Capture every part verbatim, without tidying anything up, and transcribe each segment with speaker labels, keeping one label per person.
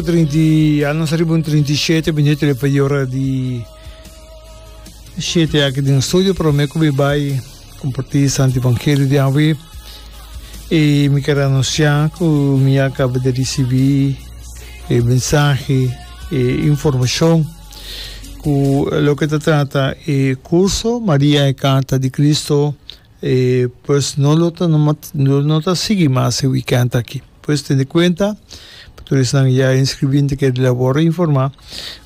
Speaker 1: Trinta i, ya nos riba un trinta i shete minuut riba e ora di shete aki den studio. Prome ku mi bai kompartí Santo Evangelio di awe, i mi ker anunsiá ku mi a kaba di risibí e mensahe, e informashon ku loke ta trata e kurso Maria e Karta di Cristo, e pues no lo ta no no ta sigui mas e weekend aki. Pues tene kuenta, pa tur esnan ya inskribí ta kere labor informá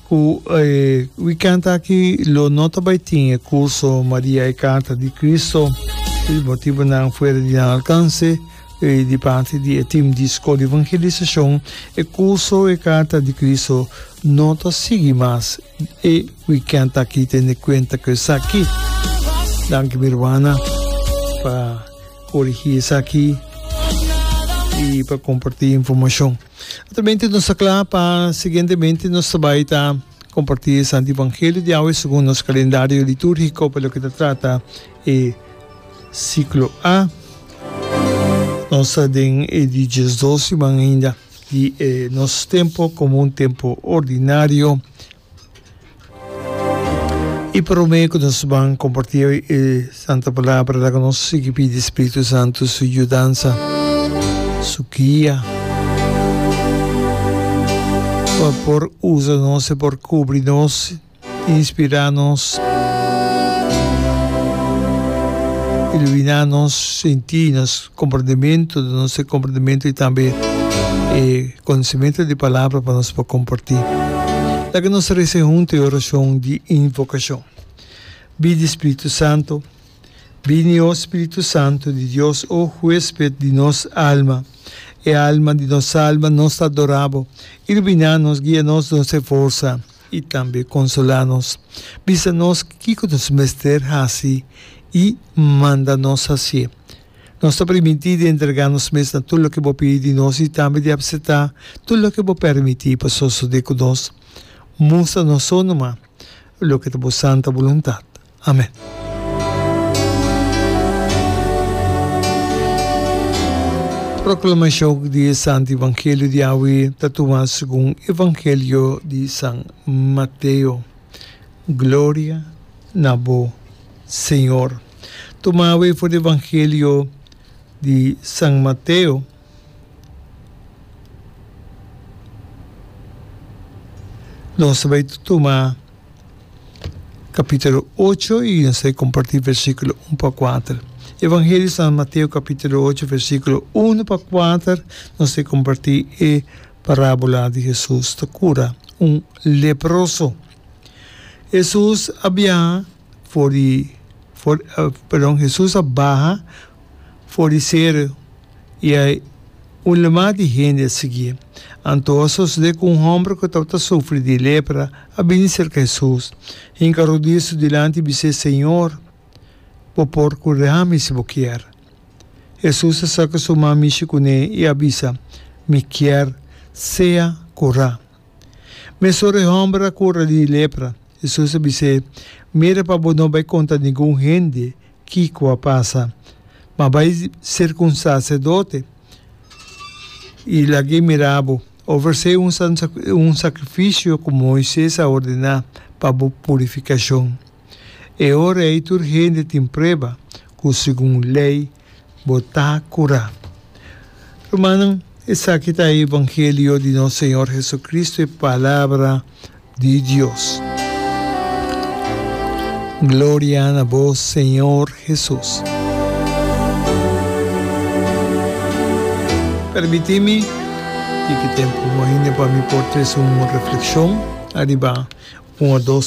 Speaker 1: ku e weekend aki lo no ta bai tin e kurso Maria e Karta di Cristo, di motibonan fuera di nan alkanse i di parti di e tim di Skol di Evangelisashon, e kurso e Karta di Cristo no ta sigui mas e weekend aki. Tene kuenta ku esaki. Danki mi ruana pa korigí esaki i pa kompartí informashon. Naturalmente nos ta kla pa siguientemente nos ta bai ta kompartí e Santo Evangelio di awe segun nos kalendario litúrgiko pa loke ta trata e siklo A. Nos ta den e di diesdos siman ainda di e nos tempo komo un tempo ordinario. I promé ku nos ban kompartí e Santa Palabra, laga nos sigui pidi Spiritu Santu su yudansa, su guia, pa por usa nos, e por kubri nos, inspirá nos, iluminá nos sintí, nos komprendementu, duna nos e komprendementu i tambe e konosementu di Palabra pa nos por kompartí. Laga nos resa huntu e orashon di invokashon. Bini Spiritu Santu, bini o Spiritu Santu di Dios, o huesped di nos alma, e alma di nos alma, nos ta adorá bo. Iluminá nos, guia nos, nos e forsa i tambe konsolá nos. Bisa nos kiko nos mester hasi i manda nos hasié. Nos ta primintí di entregá nos mes na tur loke bo pidi di nos i tambe di apseptá tur loke bo permití pa sosodé ku nos. Mustra nos so numa loke ta bo santa boluntat. Amen. Proklamashon di e Santu Evangelio di awe ta tuma segun Evangelio di San Mateo. Gloria na bo, Señor. Tuma awe for di Evangelio di San Mateo. Nos ta bai tuma capítulo ocho y nos ta comparti versículo un pa kuater. Evangelio di San Mateo capítulo ocho versículo un pa kuater, nos ta comparti e parábola di Jesús ta cura un leproso. Jesús a biaha for di, for, uh, perdon, Jesús a baha for di seru i a un lamá di hende a siguié. Anto a sosodé ku un hòmber ku tabata sufri di lepra a bini serka Hesus, hinka rodia su dilanti i bis'é, Señor, bo por kura mi si bo kier. Hesus a saka su man mishi kuné i a bisa, Mi kier, sea kurá. Mesora e hòmber a kura di lepra. Hesus a bis'é, Mira pa bo no bai konta ningun hende kiko a pasa, ma bai serka un saserdote i lag'é mira bo. Ofresé un un sakrifisio ku Moises a ordená pa bo purifikashon. E ora ei tur hende tin prueba ku segun lei bo ta kurá. Rumannan, esaki ta e evangelio di nos Señor Jesucristo, e Palabra di Dios. Gloria na bo, Señor Jesus. Permití mi tiki tempu ainda pa mi por trese un reflexion ariba un o dos